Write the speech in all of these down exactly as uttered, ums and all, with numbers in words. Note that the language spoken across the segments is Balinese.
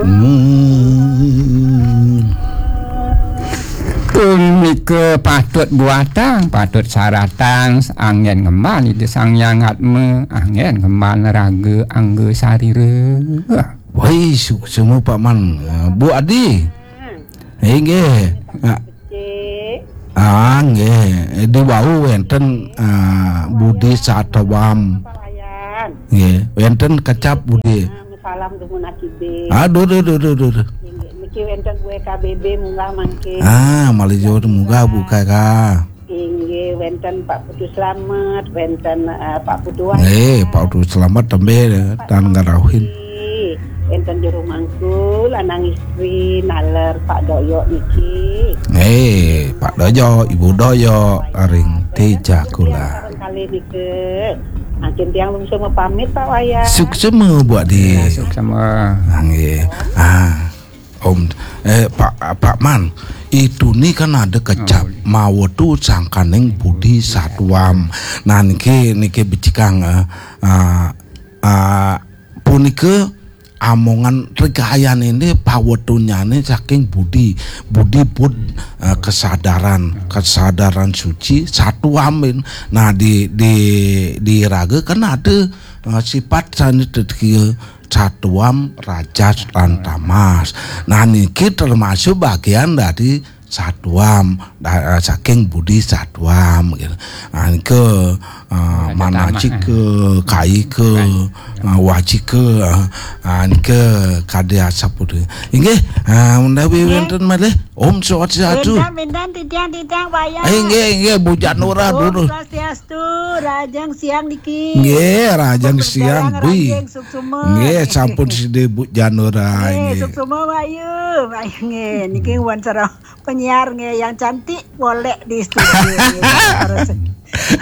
Hmm. Punika patut buatang, patut saratang, anggén ngembal Ida Sang Hyang Atma, anggén ngembal raga angga sarira. Wai, suksma Pak Man. Ah, Bu Adi. Inggih. Ah, ah, nggih. Di wau wénten, ah, Budi Satwam. Nggih, wénten kecap Budi. Salam dumun akibé. Aduh, duh, duh, duh, duh. Inggih, niki wénten Bu K B B munggah mangkin. Ah, malih jauh munggah Bu K K. Inggih, wénten Pak Putu Slamet, wénten, eh, Pak Putu Wahid. Eh, Pak Putu Slamet tembe, eh, Pak tan ngarauhin. Wénten juru mangku, lanang istri, naler Pak Doyo niki. Eh, Pak Doyo, Ibu Doyo, ring Tija Kula. Kali niki. Mangkin tiang lungsur mapamit, Pak Wayan. Suksma, Bu Adi. Ya, suksma. Ah, nggih. Ah, Om, eh, Pak, Pak Man, itu ni kan ada kecap mawetu sangkaning Budi Satwam. Nah, niki, niki becikang, eh, ah, ah, punika amongan regayan ini pawetunyane saking budi, budi bud, eh, kesadaran, kesadaran suci, satuamin. Nah, di, di, di raga kan ada, eh, sifat sane tetekia satuam, rajas, lan tamas. Nah, niki termasuk bagian dari satuam, da-, saking budi satuam, gitu. Nah, nike, eh, manacika, kaika, eh, wacika, eh, nike kadi asapunika. Inggih, eh, menawi wénten malih, Om Swastiastu. Wénten, wénten, titiang, titiang, wayah. Eh, inggih, inggih, Bu Janura. Om Swastiastu, rahajeng siang niki. Nggih, rahajeng siang, Bu. Rahajeng suksma. Nggih, sampun sida Bu Janura, nggih, nggih. Suksma, Wayu. Wayu, nggih, niki wan sareng penyiar nggih yang cantik boleh di studio nggih. Terus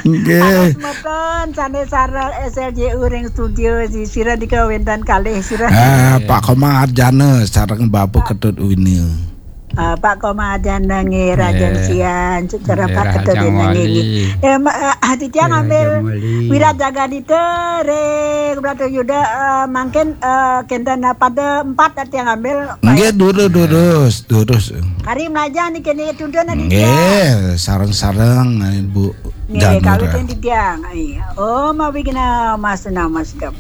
Nggih. Terus mboten sane sareng S L J U ring studio di sira nika wénten kalih sira. Ah, Pak Komang Arjana sareng Bapak Ketut Wini. Ah, Pak Komang Arjana nggih, rahajeng siang, secara Pak Ketut Wini nggih. Eh, ma-, eh, titiang ngambil Wirajagadita ring Bratayuda, eh, mangkin, eh, kenten, eh, pada empat titiang ngambil. Nggih, durus, durus, durus. Kari mlajah niki, niki tuntun niki. Nggih, sareng-sareng, Ibu. Nggih, Janura. Kawitin titiang. Iya. Om Awighnam Amasena Masidam.